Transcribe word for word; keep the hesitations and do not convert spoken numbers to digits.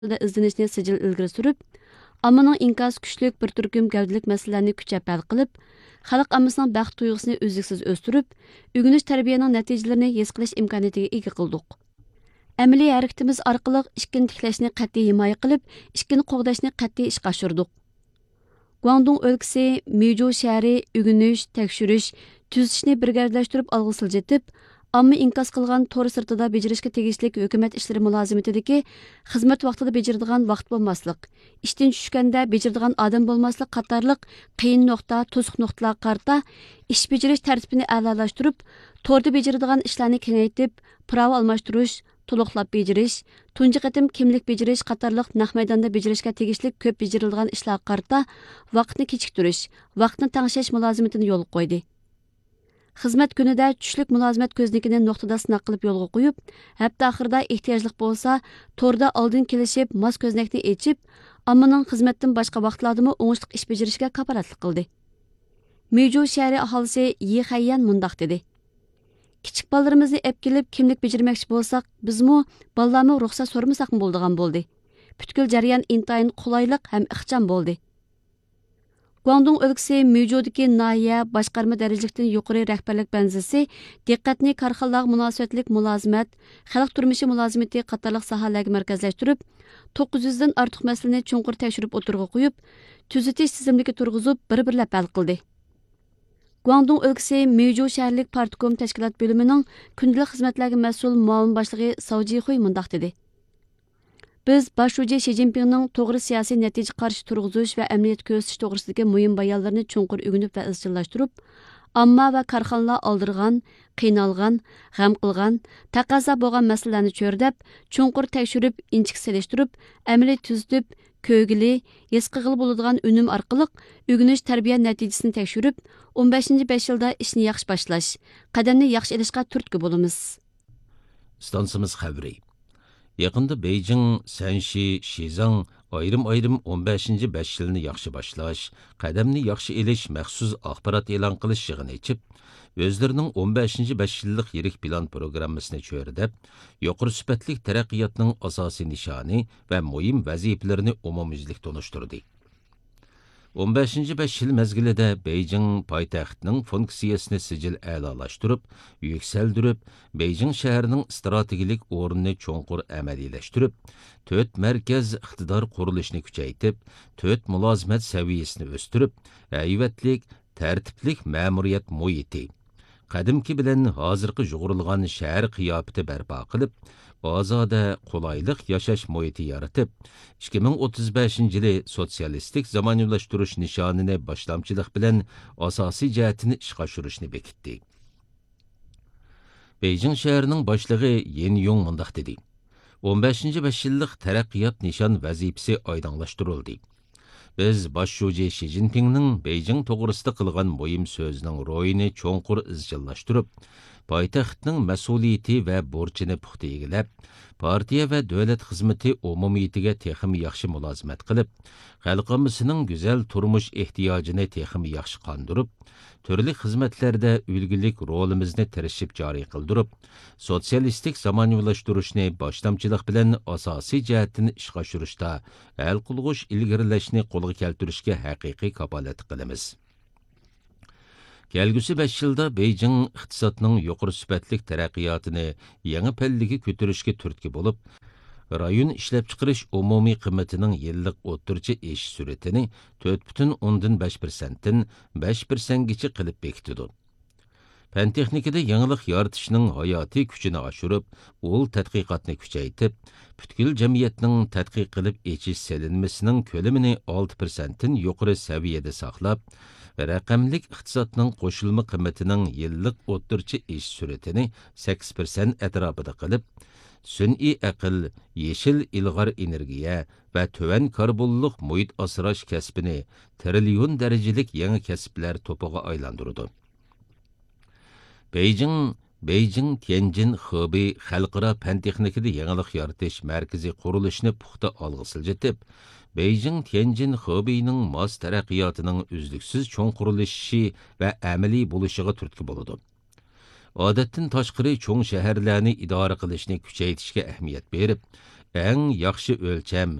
ئىزدىنىشنى سىجىل ئىلگىرى سۈرۈپ، ئاممىنىڭ ئىنكاسى كۈچلۈك بىر تۈركۈم گەۋدىلىك مەسىلىلەرنى كۈچەپ ھەل قىلىپ، خەلق ئاممىسىنىڭ بەخت تۇيغۇسىنى ئۈزلۈكسىز ئۆستۈرۈپ، ئۆگىنىش تەربىيەنىڭ نەتىجىلىرىنى ھېس قىلىش ئىمكانىيىتىگە ئىگە قىلدۇق. ئەمەلىي ھەرىكىتىمىز ئارقىلىق ئىككىنى تىكلەشنى قەتئىي ھىمايە قىلىپ، ئىككىنى قوغداشنى قەتئىي ئىشقا ئاشۇردۇق. گۇاڭدۇڭ ئۆلكىسى مىجۇ شەھىرى ئۆگىنىش، تەكشۈرۈش، تۈزىتىشنى بىر گەۋدىلەشتۈرۈپ ئالغا سىلجىتىپ، ئامما ئىنكاس قىلغان تور سىرتىدا بېجىرىشكە تېگىشلىك ھۆكۈمەت ئىشلىرى مۇلازىمىتىدىكى خىزمەت ۋاقتىدا بېجىرىدىغان ۋاقىت بولماسلىق، ئىشتىن چۈشكەندە بېجىرىدىغان ئادەم بولماسلىق قاتارلىق قىيىن نۇقتا، توسۇق نۇقتىلارغا قارىتا ئىش بېجىرىش تەرتىپىنى ئەلالاشتۇرۇپ، توردا بېجىرىدىغان ئىشلارنى كېڭەيتىپ، پىراۋا ئالماشتۇرۇش، تولۇقلاپ بېجىرىش، تۇنجى قېتىم كىملىك بېجىرىش قاتارلىق نەق مەيداندا بېجىرىشكە تېگىشلىك كۆپ بېجىرىلىدىغان ئىشلارغا قارىتا ۋاقىتنى كېچىكتۈرۈش، ۋاقىتنى تەڭشەش مۇلازىمىتىنى يولغا قويدى. خىزمەت كۈنىدە چۈشلۈك مۇلازىمەت كۆزنىكىنى نۇقتىدا سىناق قىلىپ يولغا قويۇپ، ھەپتە ئاخىرىدا ئېھتىياجلىق بولسا، توردا ئالدىن كېلىشىپ ماس كۆزنەكنى ئېچىپ، ئاممىنىڭ خىزمەتتىن باشقا ۋاقىتلاردىمۇ ئوڭۇشلۇق ئىش بېجىرىشىگە كاپالەتلىك قىلدى. مىجۇ شەھىرى ئاھالىسى يى خەييەن مۇنداق دېدى: كىچىك بالىلىرىمىزنى ئەپ كېلىپ كىملىك بېجىرمەكچى بولساق، بىزمۇ، بالىلارمۇ رۇخسەت سورىمىساقمۇ بولىدىغان بولدى. پۈتكۈل جەريان ئىنتايىن قولايلىق ھەم ئىخچام بولدى. گۇاڭدۇڭ ئۆلكىسى مىجۇدىكى ناھىيە باشقارما دەرىجىلىكتىن يۇقىرى رەھبەرلىك بەنزىسى دىققەتنى كارخانىلارغا مۇناسىۋەتلىك مۇلازىمەت، خەلق تۇرمۇشى مۇلازىمىتى قاتارلىق ساھەلەرگە مەركەزلەشتۈرۈپ، توققۇز يۈزدىن ئارتۇق مەسىلىنى چوڭقۇر تەكشۈرۈپ ئوتتۇرىغا قويۇپ، تۈزىتىش تىزىملىكى تۇرغۇزۇپ، بىر-بىرلەپ ھەل قىلدى. گۇاڭدۇڭ ئۆلكىسى مىجۇ شەھەرلىك پارتكوم تەشكىلات بۆلۈمىنىڭ كۈندىلىك خىزمەتلەرگە مەسئۇل مۇئاۋىن باشلىقى ساۋ جىخۇي مۇنداق دېدى: بىز باش شۇجى شى جىنپىڭنىڭ توغرا سىياسىي نەتىجە قارىشى تۇرغۇزۇش ۋە ئەمەلىيەتتە كۆرسىتىش توغرىسىدىكى مۇھىم بايانلىرىنى چوڭقۇر ئۆگىنىپ ۋە ئىزچىللاشتۇرۇپ، ئامما ۋە كارخانىلار ئالدىرىغان، قىينالغان، غەم قىلغان، تەقەززا بولغان مەسىلىلەرنى چۆرىدەپ، چوڭقۇر تەكشۈرۈپ، ئىنچىكە سېلىشتۇرۇپ، ئەمەلىي تۈزىتىپ، كۆرگىلى، ھېس قىلغىلى بولىدىغان ئۈنۈم ئارقىلىق ئۆگىنىش تەربىيە نەتىجىسىنى تەكشۈرۈپ، ئون بەشىنچى بەش يىلدا ئىشنى ياخشى باشلاش، قەدەمنى ياخشى ئېلىشقا تۈرتكە بولىمىز. ئىستانسىمىز خەۋىرى. يېقىندا بېيجىڭ، سەنشى، شىزاڭ ئايرىم-ئايرىم ئون بەشىنچى بەش يىلنى ياخشى باشلاش، قەدەمنى ياخشى ئېلىش مەخسۇس ئاخبارات ئېلان قىلىش يىغىنى ئېچىپ، ئۆزلىرىنىڭ ئون بەشىنچى بەش يىللىق يىرىك پىلان پروگراممىسىنى چۆرىدەپ، يۇقىرى سۈپەتلىك تەرەققىياتنىڭ ئاساسىي نىشانى ۋە مۇھىم ۋەزىپىلىرىنى ئومۇميۈزلۈك تونۇشتۇردى. ئون بەشىنچى بەش يىل مەزگىلىدە بېيجىڭ پايتەختنىڭ فۇنكسىيەسىنى سىجىل ئەلالاشتۇرۇپ، يۈكسەلدۈرۈپ، بېيجىڭ شەھىرىنىڭ ئىستراتېگىيەلىك ئورنىنى چوڭقۇر ئەمەلىيلەشتۈرۈپ، تۆت مەركەز ئىقتىدار قۇرۇلۇشىنى كۈچەيتىپ، تۆت مۇلازىمەت سەۋىيەسىنى ئۆستۈرۈپ، ھەيۋەتلىك، تەرتىپلىك مەمۇرىيەت مۇھىتى، قەدىمكى بىلەن ھازىرقى يۇغۇرۇلغان شەھەر قىياپىتى بەرپا قىلىپ، ئازادە، قولايلىق ياشاش مۇھىتى يارىتىپ، ئىككى مىڭ ئوتتۇز بەشىنچى يىلى سوتسىيالىستىك زامانىۋىلاشتۇرۇش نىشانىنى باشلامچىلىق بىلەن ئاساسىي جەھەتتىن ئىشقا ئاشۇرۇشنى بېكىتتى. بېيجىڭ شەھىرىنىڭ باشلىقى يىن يۇڭ مۇنداق دېدى: ئون بەشىنچى بەش يىللىق تەرەققىيات نىشان ۋەزىپىسى ئايدىڭلاشتۇرۇلدى. بىز باش شۇجى شى جىنپىڭنىڭ بېيجىڭ توغرىسىدا قىلغان مۇھىم سۆزىنىڭ روھىنى چوڭقۇر ئىزچىللاشتۇرۇپ، پايتەختنىڭ مەسئۇلىيىتى ۋە بۇرچىنى پۇختا ئىگىلەپ، پارتىيە ۋە دۆلەت خىزمىتى ئومۇمىيىتىگە تېخىمۇ ياخشى مۇلازىمەت قىلىپ، خەلق ئاممىسىنىڭ گۈزەل تۇرمۇش ئېھتىياجىنى تېخىمۇ ياخشى قاندۇرۇپ، تۈرلۈك خىزمەتلەردە ئۈلگىلىك رولىمىزنى تىرىشىپ جارى قىلدۇرۇپ، سوتسىيالىستىك زامانىۋىلاشتۇرۇشنى باشلامچىلىق بىلەن ئاساسىي جەھەتتىن ئىشقا ئاشۇرۇشتا ھەل قىلغۇچ ئىلگىرىلەشنى قولغا كەلتۈرۈشكە ھەقىقىي كاپالەتلىك قىلىمىز. كەلگۈسى بەش يىلدا بېيجىڭ ئىقتىسادنىڭ يۇقىرى سۈپەتلىك تەرەققىياتىنى يېڭى پەللىگە كۆتۈرۈشكە تۈرتكە بولۇپ، رايون ئىشلەپچىقىرىش ئومۇمىي قىممىتىنىڭ يىللىق ئوتتۇرىچە ئېشىش سۈرئىتىنى تۆت پۈتۈن ئوندىن بەش پىرسەنتتىن بەش پىرسەنتكىچە قىلىپ بېكىتىدۇ. پەن تېخنىكىدا يېڭىلىق يارىتىشنىڭ ھاياتىي كۈچىنى ئاشۇرۇپ، ئۇل تەتقىقاتنى كۈچەيتىپ، پۈتكۈل جەمئىيەتنىڭ تەتقىق قىلىپ ئېچىش سېلىنمىسىنىڭ كۆلىمىنى ئالتە پىرسەنتتىن يۇقىرى سەۋىيەدە ساقلاپ، رەقەملىك ئىقتىسادنىڭ قوشۇلما قىممىتىنىڭ يىللىق ئوتتۇرىچە ئېشىش سۈرئىتىنى سەككىز پىرسەنت ئەتراپىدا قىلىپ، سۈنئىي ئەقىل، يېشىل ئىلغار ئېنېرگىيە ۋە تۆۋەن كاربونلۇق مۇھىت ئاسراش كەسپىنى تىرىليون دەرىجىلىك يېڭى كەسىپلەر توپىغا ئايلاندۇرىدۇ. بېيجىڭ، بېيجىڭ تيەنجىن خېبېي خەلقئارا پەن تېخنىكىدا يېڭىلىق يارىتىش مەركىزى قۇرۇلۇشىنى پۇختا ئالغا سىلجىتىپ، بېيجىڭ تيەنجىن خېبېينىڭ ماس تەرەققىياتىنىڭ ئۈزلۈكسىز چوڭقۇرلىشىشى ۋە ئەمەلىي بولۇشىغا تۈرتكە بولىدۇ. ئادەتتىن تاشقىرى چوڭ شەھەرلەرنى ئىدارە قىلىشنى كۈچەيتىشكە ئەھمىيەت بېرىپ، ئەڭ ياخشى ئۆلچەم.